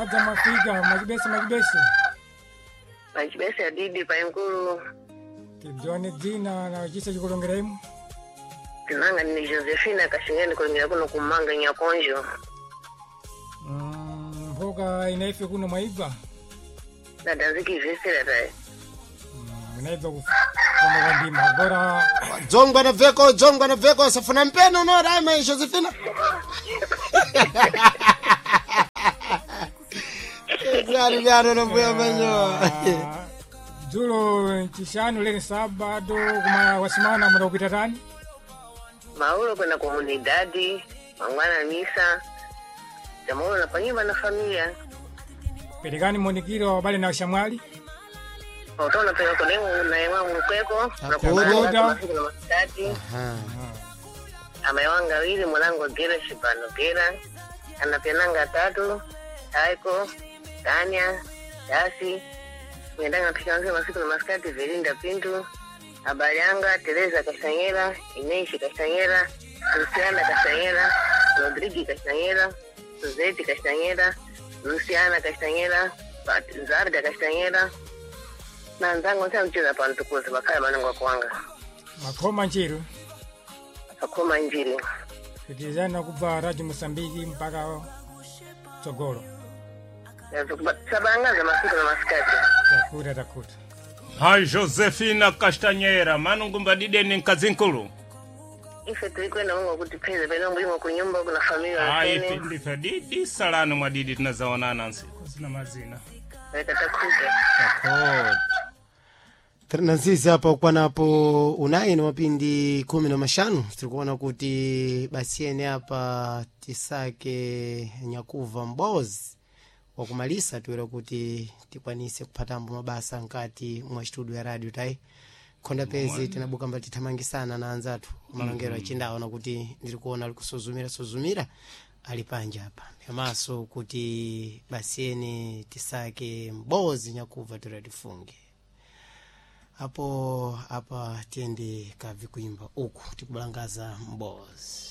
Madza mafika machibese machibese. Machibese adidi paenkulu. Tidziwane dzina na chisa chikulongera imu. Tinanga ni Josephina Kashingeni kulongera kuno kumanga nyakonjo. Mboka inaife kuno mwaibva. Nadanziki vesera tae. Inaibva kufamba kwa ndima. Agora Dzongwa na veko, dzongwa na veko, safuna mpeno no rama Josephina. Vyaro vyaro na mbuya manyo. Dzulo chishanu lero sabado kuma wasimana muda kupita tani. Maulo kwenda komunidadi, mangwana misa. Jamaulo na panyumba na familia. Perekani monikiro wabale na shamwali. Utona peka kodengu na yewa mkweko. Na Akuda. kubanga masiku na masikati. Amewanga wili mwanangu gera shibano gera. Anapenanga tatu. Taiko, Tanya, Dasi. Mwendanga picha masiku na masikati Velinda Pintu. Abayanga, Teresa Kashanyera, Ineishi Kashanyera, Luciana Kashanyera, Rodrigi Kashanyera, Suzete Kashanyera, Luciana Kashanyera, Zarda Kashanyera. Na nzangu nsa mcheza pantukuzi bakaya manungu kuwanga. Makhoma nchiru. Akoma njiri. Pitizana kubva Radio Mosambiki mpaka Tsogolo. Sabangaza masiku na masikati. Takuta takuta. Hai Josefina Castanheira, manungumba dideni nkazinkulu. Ife tulikwenda Mungu akutipeze pena mulimo kunyumba kuna familia Ai wasene. ndife didi salano mwa didi tunazaonana nsiku zina mazina. Leta takuta. Takuta. Nansisi apa ukwanapo unayi na mapindi 15 tirikuona kuti basi ene apa tisake nyakuva mbozi wakumalisa tiwera kuti tikwanise kuphatambo mabasa nkati mwa studio ya radio tai khonda pezi tinabuka mbali tithamangisana na anzathu malongero achindaona kuti ndiri kuona ali kusuzumira suzumira ali panja apa yamaso kuti basi ene tisake mbozi nyakuva tiwera tifunge apo apa tiyende kabvi kuimba uku tikubalangaza mbozi.